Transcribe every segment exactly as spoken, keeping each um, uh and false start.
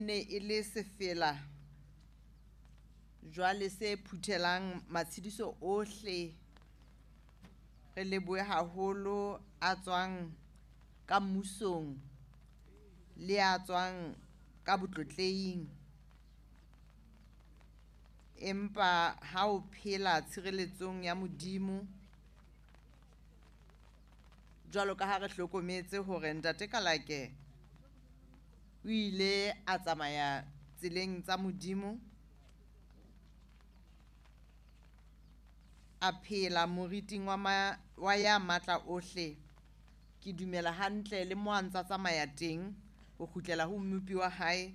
Ne e le sefela jwale se phuthelang matshediso ohle. Re lebohe haholo a tswang ka mmusong le a tswang ka botlotlehing. Empa ha o phela tshireletsong ya Modimo, jwalo ka ha re hlokometse hore Ntate Kalake o ile a tsamaya tseleng tsa Modimo, a phela moriting wa ma, wa ya matla ohle. Ke dumela hantle le mo a ntsa tsamaya teng ho kgutlela ho mmopi wa hae.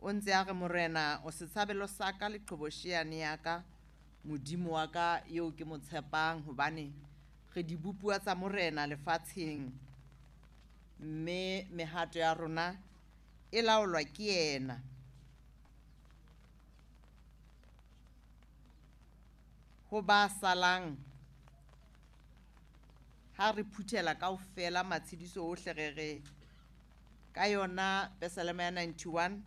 O ntse a re, Morena, o setshabelo sa ka le qhobosheane ya ka, Modimo wa ka eo ke mo tshepang, hobane re dibopuwa tsa Morena lefatsheng, mme mehato ya rona e laolwa ke yena. Ho ba salang, ha re phuthela kaofela matshediso ohle, re re ka yona Pesalema ya ninety-one,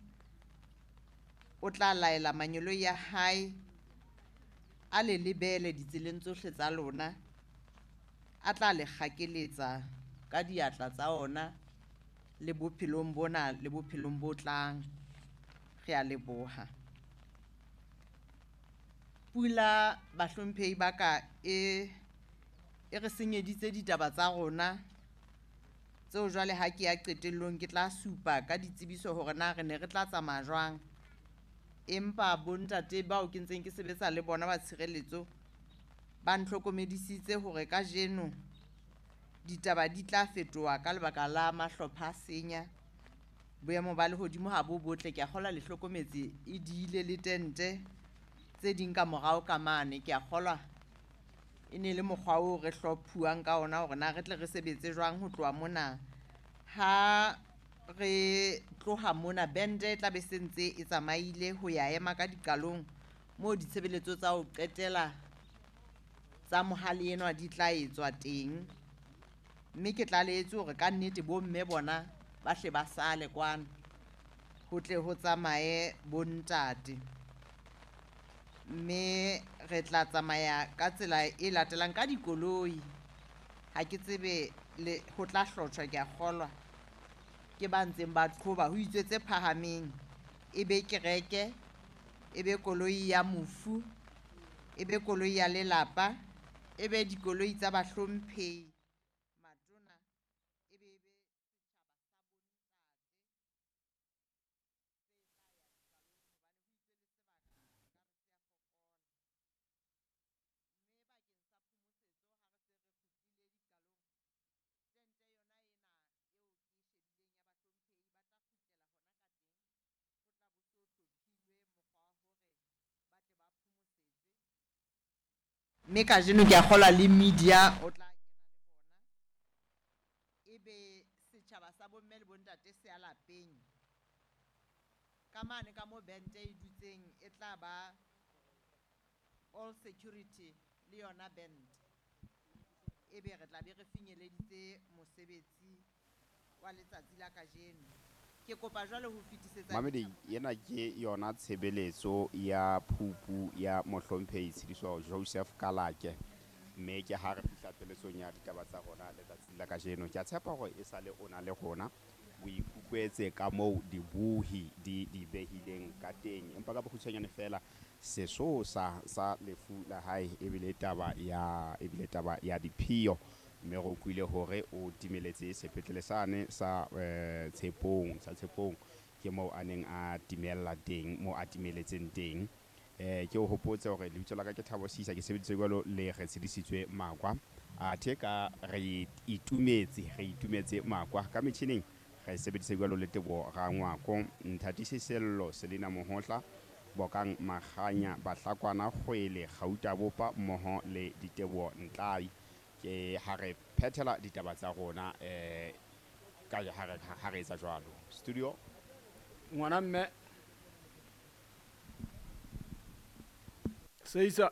o tla laela mangeloi ya hae a le lebele ditseleng tsohle tsa lona, a tla le kgakeletsa ka diatla tsa ona le bophelong bona le bophelong bo tlang. Re a leboha. Pula, bahlomphehi ba ka, e, e re senyeditse ditaba tsa rona tseo jwale ha ke ya qetellong ke tla supa ka ditsebiso hore na re ne re tla tsamaya jwang. Empa bontate bao ke ntseng ke sebetsa le bona ba tshireletso ba ntlhokomedisitse hore kajeno ditaba di tla fetoha ka lebaka la mahlopha a senya. Boemo ba lehodimo ha bo botle, ke a kgolwa le hlokometse e diile le tente tse ding ka morao ka mane. Ke a kgolwa e ne le mokgwa oo re hlophuwang ka ona hore na re tle re sebetse jwang ho tloha mona. Ha re tloha mona, bente e tla be se ntse e tsamaile ho ya ema ka diqalong moo ditshebeletso tsa ho qetela tsa mohale enwa di tla etswa teng. Mme ke tlalehetse hore ka nnete bomme bona ba hle ba sale kwano, ho tle ho tsamaye bontate. Mme re tla tsamaya ka tsela e latelang ka dikoloi. Ha ke tsebe le ho tla hlotjhwa, ke a kgolwa ke ba ntseng ba qhoba ho itswe tse phahameng, e be kereke, e be koloi ya mofu, e be koloi ya lelapa, e be dikoloi tsa bahlomphehi matona, e be be setjhaba sa bontate tse tla ya diqalong, hobane ho itswe le sebaka ka re se a fokola. Mme bakeng sa phomosetso ha re se re kgutlile diqalong, tente yona ena eo ke e shebileng ya bahlomphehi ba tla kgutlela hona ka teng, ho tla bo so hlophilwe mokgwa wa hore ba tle ba phomosetswe. Mme kajeno ke a kgolwa le media o tla kena le bona, ebe setjhaba sa bomme le bontate se ya lapeng. Ka mane ka mo bente e dutseng e tla ba all security le yona band, ebe re tla be re finyeleditse mosebetsi wa letsatsi la kajeno. Ke kopa jwale ho fetisetsa Mamedi, ena ke yona tshebeletso ya phupu ya mohlomphehi Tshidiso Joseph Kalake, mme ke ha re fihla pheletsong ya ditaba tsa rona letsatsing la kajeno. Ke a tshepa hore e sale o na le rona, o ikutlwetse ka moo dibohi di di behileng ka teng. Empa ka bokgutshwanyane fela, sesosa sa lefu la hae ebile taba ya, ebile taba ya diphio, mme re utlwile hore o timeletse sepetlele sane sa, eh, Tshepong, sa Tshepong, ke moo a neng a timella teng, moo a timeletseng teng. Eh, ke o hopotse hore lebitso la ka ke Thabo Sisa, ke sebeditse jwalo le re tshedisitswe Makwa. Athe ka re itumetse, re itumetse Makwa ka metjhining, re sebeditse jwalo le Teboho Rangwako, Nthatisi Sello, Selina Mohotla, Bokang Makganya, Bahlakwana Kgwele, Gauta Bopa mmoho le Diteboho Ntlai. Ke ha re phethela ditaba tsa rona, eh, ka ha re, ha re etsa jwalo. Studio. Ngwana mme. Seisa.